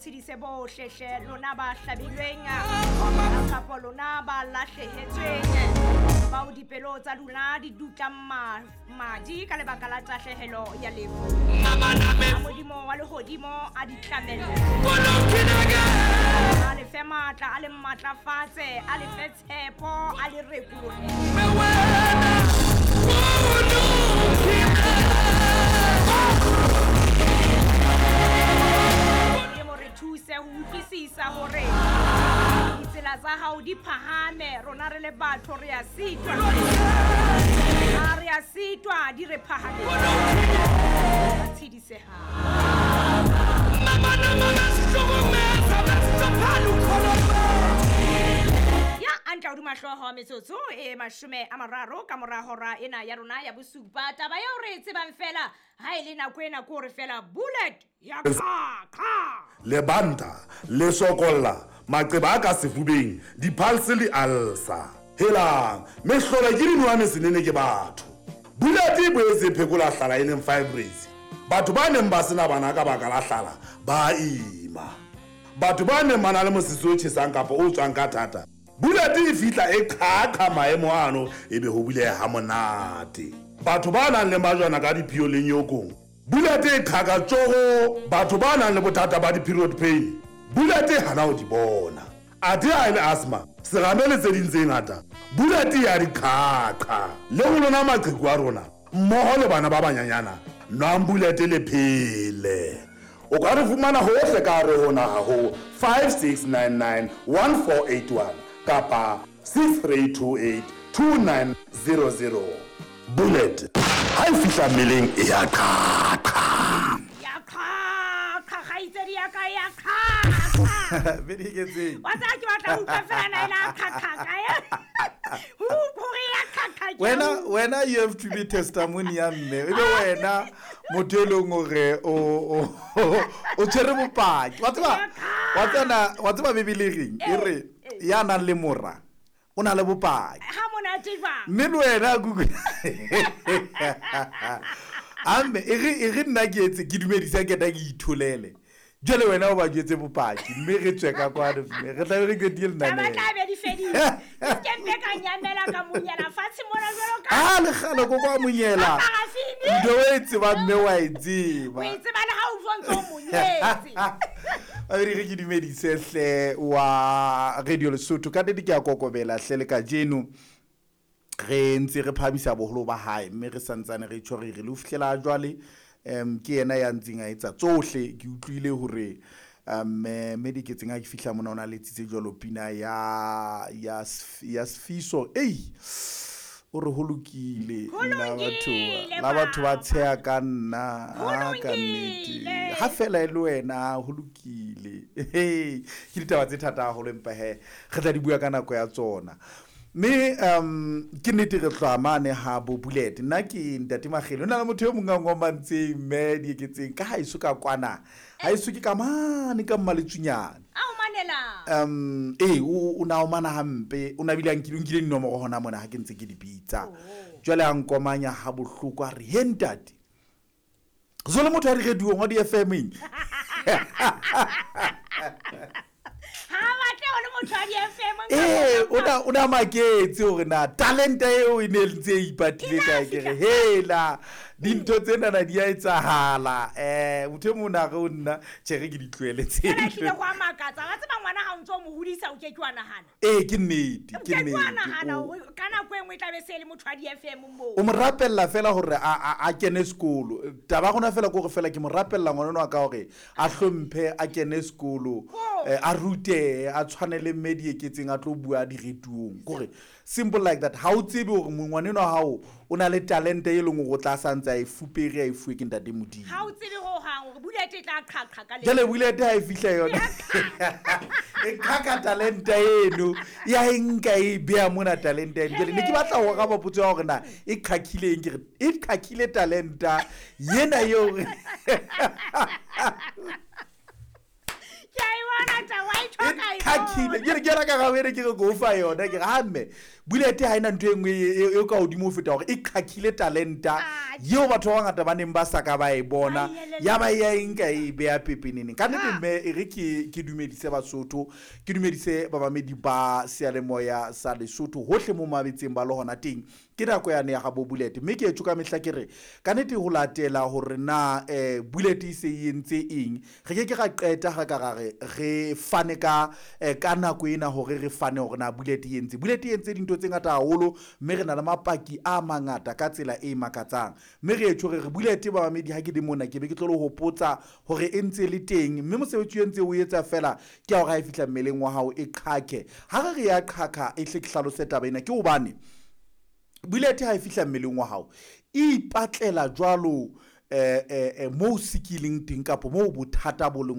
tshedise bohle hle lona ba hlabilweng kapo lona ba lahlehetsweng bao dipelo tsa lona di dutlang madi ka lebaka la tahlehelo ya lefu. A Modimo wa lehodimo a di tlamelle, a le fe matla, a le matlafatse, a le fe tshepo, a le rekolohe. Modimo re thuse ho utlwisisa hore ditsela tsa hao di phahame, rona re le batho re a sitwa, ha re a sitwa di re phahame. Tshedisehang. Ya antla hodima hlooho metsotso e 30 ka mora hora ena ya rona ya bosupa. Taba eo re e tsebang fela ha e le nako ena ke hore fela bullet ya qha. Lebanta le sokolla maqeba a ka sefubeng, diphalse le alsa. Helang, mehlolo ke dinowa mesenene ke batho. Bullet e boetse e phekola hlala e leng fibroids. Batho ba neng ba sena bana ka baka la hlala ba ima. Batho ba neng ba na le mosese o tjhesang kapa o tswang ka thata, Bullet e fihla e qhaqha maemo ano ebe ho buleha ha monate. Batho ba nang le majwana ka diphio le nyokong, Bullet e qhaka tjoho. Batho ba nang le bothata ba di-period pain, Bullet e hana ho di bona. Athe ha e le asthma, serame le tse ding tse ngata, Bullet ya di qhaqha. Le ho lona maqheku a rona mmoho le bana ba banyanyana, nwang Bullet le phele. O ka re fumana hohle ka hare ho naha ho 5699 1481 kapa 6328 2900. Bullet ha e fihla mmeleng e ya qhaqha. Ya qhaqha, kgaitsedi ya ka ya qhaqha. Be di ketseng. Wa tseba ke batla ho utlwa fela na e la qhaqha kae. Hore ya qhaqha ke. Wena you have to be testimony ya mme. Ebe wena motho e leng hore o tshwere bopaki. Wa tseba, wa tsena, wa tseba Bibele e reng? E re ya nang le mora o na le bopaki. Ha monate jwang? Mme le wena Google. Amme e re nna ke etse ke dumedisa ke ta ke itholele. Jwale wena o ba jwetse bopaki mme re tswe ka kwano mme re tla be re qetile lenaneo. Taba tla be di fedile. Ke mpe ka nyamela ka monyela fatshe mona jwalo ka. Ah, le kgale ko kwa monyela. Ka parafini. Ntho o e tsebang mme wa e tseba. O e tseba le ha o utlwa ntse o monyetse. A re ke dumedise hle wa Radio Lesotho ka nnete ke a kokobela hle le kajeno. Re ntse re phahamisa boholo ba hae mme re santsane re tjho re re le ho fihlela jwale ke yena ya ntseng a etsa tsohle. Ke utlwile hore mme Diketseng ha ke fihla mona o na letsitse jwalo pina ya ya ya Sfiso. Ei, o re ho lokile la batho ba tsheha ka nna ka nnete ha fela e le wena ho lokile. Ke ditaba tse thata haholo empa he re tla di bua ka nako ya tsona. Mme ke nnete re tloha mane ha bo Bullet. Nna ke ntate Makgele, o na le motho e mong a ngomantseng mme Dieketseng ka haeso ka kwana. Haeso ke ka mane ka Mmaletsunyane. A o manela. O na o mana hampe, o na bile a nkile dinomoro hona mona ha ke ntse ke di bitsa. Jwale a nkomanya ha bohloko a re he ntate. So le motho a di radiong wa di FM eng? Ha batle ho le motho wa di FM. O na maketse hore na talente eo e ne ntse e ipatile kae, ke re hela dintho tsena na di a etsahala. Motho e mong a re ho nna tjhe re ke di tlohele tse. Fela ehlile ho a makatsa. Wa tseba ngwana ha o ntso mo hodisa o ke ke wa nahana. Ke nnete, ke nnete. Ke wa nahana hore ka nako e nngwe e tla be se le motho wa di FM moo. O mo rapella fela hore a kene sekolo. Taba ya rona fela ke hore fela ke mo rapella ngwana wa ka hore a hlomphe, a kene sekolo, a rute, a tshwane le mme Dieketseng a tlo bua diretuong. Kore simple like that. Ha o tsebe hore ngwana enwa wa hao o na le talente e leng hore o tla santse a e fupere, a e fuwe ke ntate Modimo. Ha o tsebe ho hang hore Bullet e tla qhaqha ka le. Jwale Bullet ha e fihla yona. E qhaqha talente eno. Ya e nka e beha mona talente eno. Jwale ne ke batla ho araba potso ya hore na e qhaqhile eng, ke re e qhaqhile talenta yena eo. Ke a e bona taba, wa e tjho ka e bona. Qhakile ke re ke yona karabo ene ke re ke o fa yona. Ke re ha mme Bullet ha ena ntho e nngwe e ka hodimo ho feta hore e qhakile talenta eo batho ba bangata ba neng ba sa ka ba e bona, ya ba ya e nka e beha pepeneneng. Ka nnete mme e re ke dumedise Basotho, ke dumedise bamamedi ba seyalemoya sa Lesotho hohle mo mabetseng ba le hona teng. Ke nako yane ya gabo Bullet, mme ke etso ka mehla ke re ka nnete ho latela hore na Bullet e se e entse eng, re ke ke ra qeta ra ka ra re re fane ka ka nako ena hore re fane hore na Bullet e entse. Bullet e entse dintho tse ngata haholo, mme re na le mapaki a mangata ka tsela e makatsang. Mme re etso re re Bullet bamamedi, ha ke le mona ke be ke tlo le hopotsa hore e ntse le teng, mme mosebetsi o ntse o etsa fela ke ya hore ha e fihla mmeleng wa hao e qhake. Ha re re ya qhaka, e hle ke hlalose taba ena, ke hobane Bullet ha e fihla mmeleng wa hao e ipatlela jwalo moo sikileng teng kapa moo bothata bo leng.